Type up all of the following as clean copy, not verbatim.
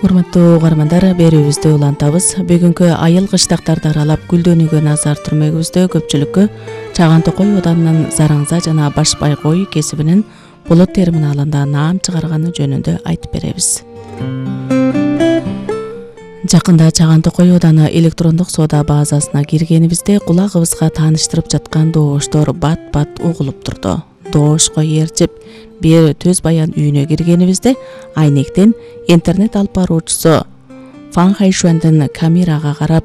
Урматтуу угармандар, берүүбүздү улантабыз. Бүгүнкү айыл кыштактарды аралап гүлдөнүүгө назар түрмөгүбүздө көпчүлүккө Чаган Токой Оданынын Зараңза жана Башбай кой кесибинин Болот терминалында наам чыгарганы жөнүндө айтып беребиз. Жакында Чаган Токой Оданы электрондук соода базасына киргенибизде кулагыбызга тааныштырып жаткан добуштор бат-бат угулуп турду. Добушко ээрчип бир Төз Баян үйүнө киргенибизде айнектен интернет алып баруучусу Фан Хайшуандын камерага карап,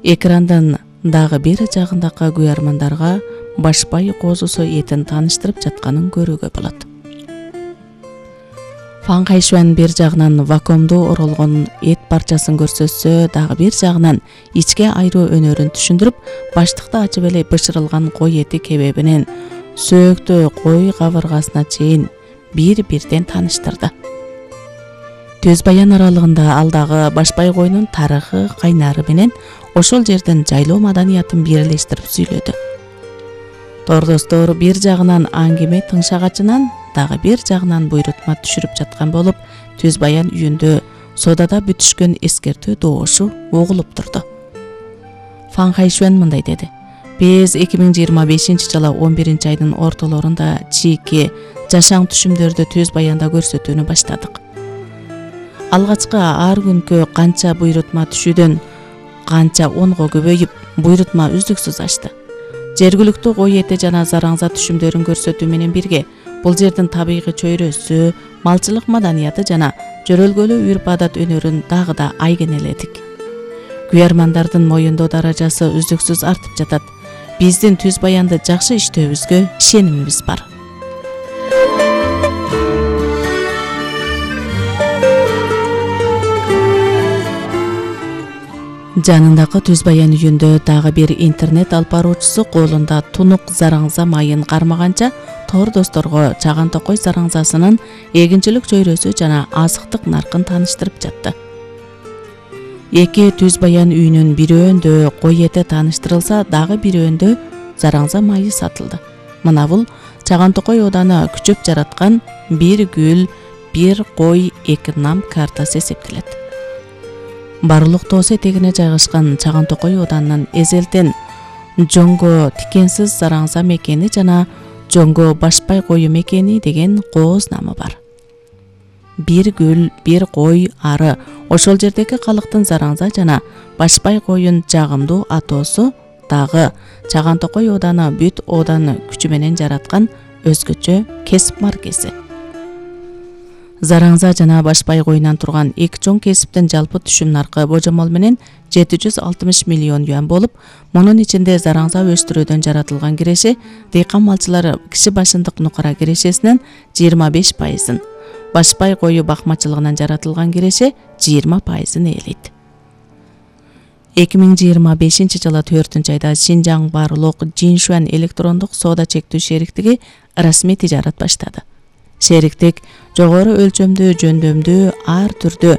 экрандын дагы бир жагындагы күйөрмандарга Башбай козусу этин тааныштырып жатканын көрүүгө болот. Фан Хайшуан бир жагынан вакуумду оролгон эт парчасын көрсөтсө, дагы бир жагынан ичке айруу өнөрүн түшүндүрүп, баштыкты ачып эле бышырылган кой эти кебебинен сөөктө кой кабыргасына чейин бир-бирден тааныштырды. Төз Баян аралыгында ал дагы Башбай койунун тарыхы, кайнары менен ошол жердин жайлоо маданиятын бирлештирип сүйлөдү. Тордостор бир жагынан аңгеме тыңшагачынан, дагы бир жагынан буйрутма түшүрүп жаткан болуп, Төз Баян үйүндө соодада бүтүшкөн эскертүү добушу угулуп турду. Фан Хайшуан мындай деди: Биз 2025-жылы 11-айдын ортолорунда чийки жашаң түшүмдөрдү Төз Баянда көрсөтүүнү баштадык. Алгачкы ар күнкү канча буйрутма түшүүдөн канча онго көбөйүп, буйрутма үздүксүз ашты. Жергиликтүү кой эти жана зараңза түшүмдөрүн көрсөтүү менен бирге бул жердин табигый чөйрөсү, малчылык маданияты жана жөрөлгөлүү үрп-адат өнөрүн дагы да айгенеледик. Күйөрмандардын моюндоо даражасы үздүксүз артып жатат. Биздин Төз Баянды жакшы иштөөбүзгө ишенимибиз бар. Жанындагы Төз Баян үйүндө дагы бир интернет алып баруучусу колунда тунук зараңза майын кармаганча тордосторго Чаган Токой зараңзасынын эгинчилик чөйрөсү жана азыктык наркын тааныштырып жатты. Эки Төз Баян үйүнүн бирөөндө кой эти тааныштырылса, дагы бирөөндө зараңза майы сатылды. Мына бул Чаган Токой Оданы күчөп жараткан бир гүл, бир кой, эки нам картасы эсептелет. Барлык тоос этегине жайгашкан Чаган Токой Оданынын эзелтен Жоңго тикенсиз зараңза мекени жана Жоңго Башбай кою мекени деген кооз намы бар. Бир гүл, бир кой ары ошол жердеги калктын зараңза жана Башбай коюн жагымдуу атоосу дагы Чаган Токой Оданы бүт Оданы күчү менен жараткан өзгөчө кесип маркеси. Зараңза жана Башбай коюнан турган эки чоң кесиптин жалпы түшүм наркы божомол менен 760 миллион юан болуп, мунун ичинде зараңза өстүрүүдөн жаратылган киреше дыйкан малчылары киши башындык нукара кирешесинен 25%, Башбай кою бакмачылыгынан жаратылган киреше 20% ээлейт. 2025-жылы 4-айда Шинжаң Барлык Жиншуан электрондук соода чектүү шериктиги расмий тижарат баштады. Шериктик жогору өлчөмдүү жөндөмдүү ар түрдүү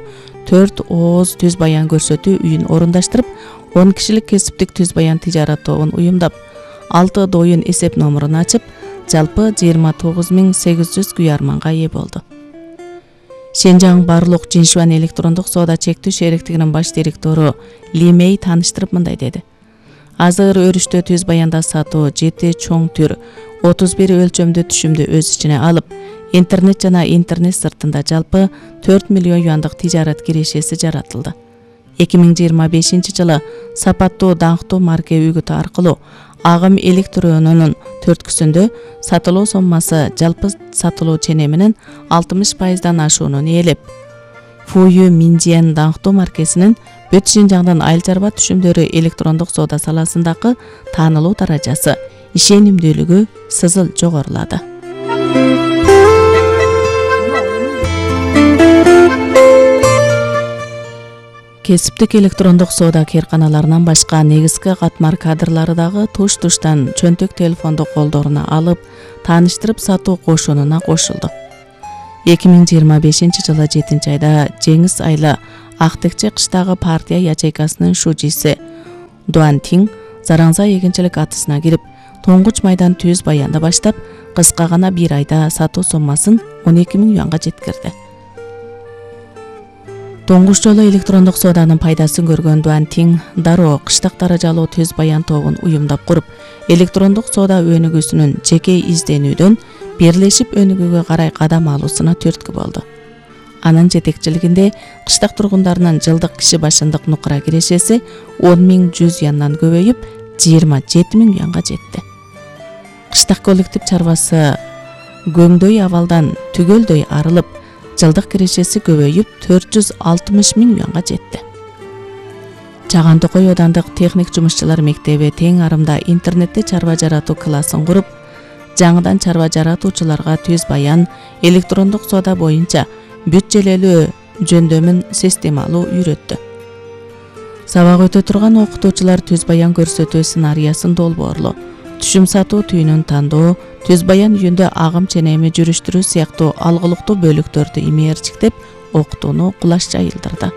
4 ооз Төз Баян көрсөтүү үйүн орундаштырып, 10 кишилик кесиптик Төз Баян тижарат тобун уюмдап, 6 доюн эсеп номурун ачып, жалпы 29800 күйөрманга ээ болду. Шинжаң Барлык Жиншуан электрондук соода чектүү шериктигинин баш директору Ли Мэй тааныштырып мындай деди: Азыр өрүштө Төз Баянда сатуу 7 чоң түр, 31 өлчөмдүү түшүмдү өз ичине алып, интернет жана интернет сыртында жалпы 4 миллион юандык тижарат кирешеси жаратылды. 2025-жылы сапаттуу даңктуу марке үгүтү аркылуу агым электронунун төрткүсүндө сатылуу соммасы жалпы сатылуу ченеминин 60%дан ашуунун ээлеп, Фую Минжиен даңктуу маркесинин бүт Шинжаңдын айыл чарба түшүмдөрү электрондук соода саласындагы таанылуу даражасы, ишенимдүүлүгү сызыл жогорулады. Кесиптик электрондук соода кээрканаларынан башка негизги катмар кадрлары дагы туш-туштан чөнтөк телефонду колдоруна алып, тааныштырып сатуу кошунуна кошулду. 2025-жылы 7-айда Жеңис айлы Актекче кыштагы партия ячейкасынын шужиси Дуан Тиң зараңза эгинчилик атысына кирип, тоңгуч майдан Төз Баянды баштап, кыска гана бир айда сатуу соммасын 12 000 юанга жеткирди. Тоңгуш жолу электрондук сооданын пайдасын көргөн Дуан Тиң дароо кыштак даражалуу Төз Баян тобун уюмдап куруп, электрондук соода өнүгүүсүнүн жеке изденүүдөн бирлешип өнүгүүгө карай кадам алуусуна түрткү болду. Анын жетекчилигинде кыштак тургундарынын жылдык киши башындык нукура кирешеси 10.100 юандан көбөйүп 27.000 юанга жетти. Кыштак коллектив чарбасы көңдөй абалдан түгөлдөй арылып, жылдык кирешеси көбөйүп 460.000 юанга жетти. Чаган Токой Оодандык техник жумушчулар мектеби тең арымда интернетте чарба жаратуу классын куруп, жаңыдан чарба жаратуучуларга Төз Баян электрондук соода боюнча бүт-желелүү жөндөмүн системалуу үйрөттү. Сабак өтө турган окутуучулар Төз Баян көрсөтүү сценариясын долбоорлоо, түшүм сатуу түйүнүн тандоо, Төз Баян үйүндө агым ченеми жүрүштүрүү сыяктуу алгылыктуу бөлүктөрдү имээрчиктеп, окутууну кулаш жайылдырды.